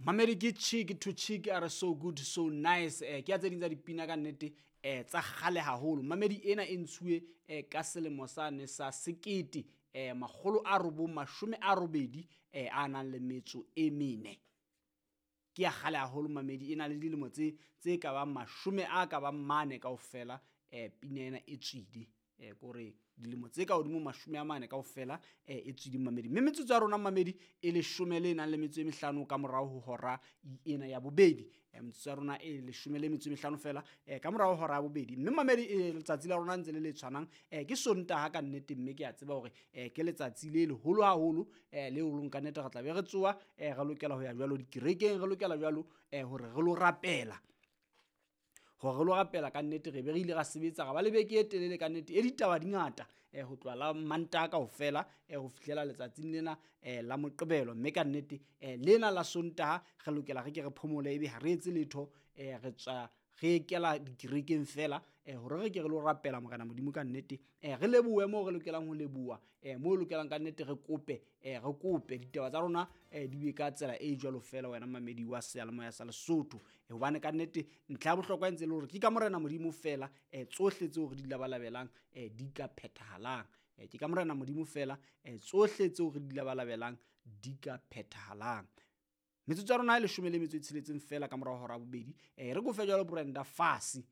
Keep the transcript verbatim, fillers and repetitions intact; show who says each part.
Speaker 1: Mamedi ke Cheek to Cheek a re so good so nice. eh ke ya tse ding tsa dipina ka nnete eh tsa kgale haholo. Mamedi ena e ntshuwe eh ka selemo sane sa sekete eh makgolo a robong mashome a robedi eh a nang le metso e mene. Ke ya kgale haholo mamedi, e na le dilemo tse tse ka bang mashome a ka bang mane kaofela. eh pina ena e tswile eh kore dilemo tse ka hodimo mashome a mane kaofela eh e tswile mamedi. Mme metsotso ya rona mamedi e leshome le nang le metso e mehlano ka morao ho hora ena ya bobedi. Eh metsotso ya rona e leshome le metso e mehlano fela eh ka morao ho hora ya bobedi. Mme mamedi e letsatsi la rona ntse le le tshwanang, eh ke Sontaha ka nnete, mme ke a tseba hore eh ke letsatsi le leholo haholo eh leo leng ka nnete re tla be re tsoha eh re lokela ho ya jwalo dikerekeng, re lokela jwalo eh hore re lo rapela, hore re lo rapela ka nnete. Re be re ile ra sebetsa, ra ba le beke e telele ka nnete e ditaba di ngata eh ho tloha la Mantaha kaofela eh ho fihlela letsatsing lena eh la Moqebelo. Mme ka nnete eh lena la Sontaha re lokela re ke re phomole, ebe ha re etse letho, eh re tswa re kela dikerekeng fela eh hore re ke re lo rapela Morena Modimo ka nnete. eh Re lebohe moo re lokelang ho leboha, eh moo lokelang ka nnete re kope, eh re kope ditaba tsa rona eh di be ka tsela e jwalo fela wena mamedi wa seyalemoya sa Lesotho. Hobane ka nnete ntlha ya bohlokwa e ntse le hore ke ka Morena Modimo fela eh tsohle tseo re di labalabelang eh di ka phethahalang. Eh ke ka Morena Modimo fela eh tsohle tseo re di labalabelang di ka phethahalang. Metsotso ya rona e leshome le metso e tsheletseng fela ka morao hora ya bobedi. Eh re kofe jwalo Brenda Fassie.